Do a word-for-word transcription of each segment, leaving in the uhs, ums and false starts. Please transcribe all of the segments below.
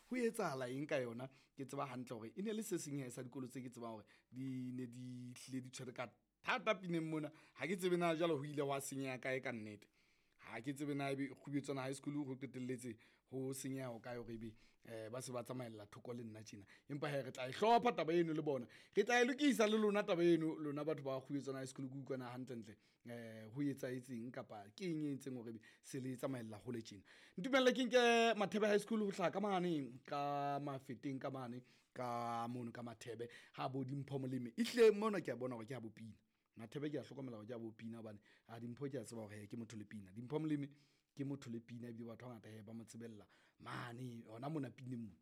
ho etsahala eng ka yona. Ke tseba hantle hore e ne le se seng he sa dikolo tse ke tsebang hore di ne di hlile di tshwere ka thata pineng mona. Ha ke tsebe na jwale ho ile hwa senyeha kae ka nnete. Ha ke tsebe na ebe Kgubetswana High School ho qetelletse ho senyeha ho kae hore ebe um ba se ba tsamaella thoko le nna tjena. Empa hee re tla e hlopha taba eno le bona, re tla e lokisa le lona taba eno lona batho ba Kgubetswana High School. Ke utlwana hantlentle um ho etsahetseng kapa ke eng e entseng hore ebe se le tsamaella hole tjena. Ntumelle ke nke Mathebe High School ho hlaha ka mane ka Mafeteng ka mane ka mono ka Mathebe ha bo Dimpho Molemi. Ehlile mona ke a bona hore ke ha bo pina. Mathebe ke a hlokomela hore ke a bo pina hobane a Dimpho ke a tseba hore ke motho le pina. Dimpho Molemi ke motho le pina ebile batho ba bangata he ba mo tsebella mane hona mona pineng mona.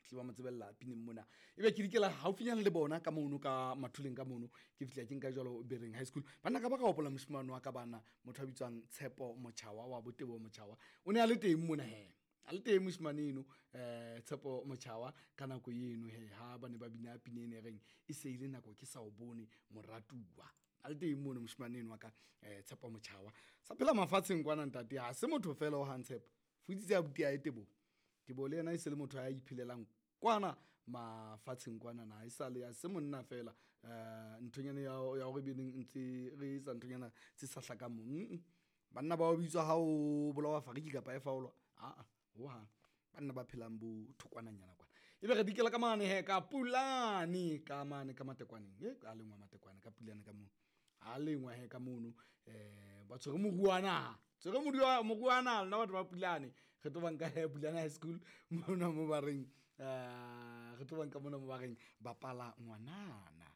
Tle ba mo tsebella pineng mona. Ebe ke dikela haufinyana le bona ka mono ka Mathuleng ka mono, ke fihla ke nka jwalo Bereng High School. Banna ka ba ka hopola moshemane wa ka bana, motho a bitswang Tshepo Motjhawa wa Botebo Motjhawa. O ne a le teng mona he. A le teng moshemane eno, eh Tshepo Motjhawa ka nako eno he ha ba ne ba bina pina ena e reng e se ile nako ke sa o bone moratuwa. A le teng mono moshemane eno wa ka, eh Tshepo Motjhawa. Sa phela mafatsheng kwana ntate, ha se motho fela o hang Tshepo. Futsitse abuti ya Teboho. Teboho le yena e se le motho ya iphelelang kwana mafatsheng kwana na e sale ya se monna fela. Eh nthonyana ya ya hore be neng ntse re etsa nthonyana tse sa hlakang mo. Mm. Banna ba o bitswa ha o bolawa fariki kapa e faolwa. Ah ah, ho hang. Banna ba phelang bo thokwananyana kwana. Ebe re dikela ka mane he ka Pulane ka mane ka Matekwaneng. E ka lengwa Matekwane ka Pulane ka mono. Ha lengwa he ka mono, eh ba tshwere moruana. Tshwere moruana, moruana lona batho ba Pulane. Re tlo ba nka he Pulane High School mona mo ba reng, eh re tlo ba nka mona mo ba reng bapala ngwanana.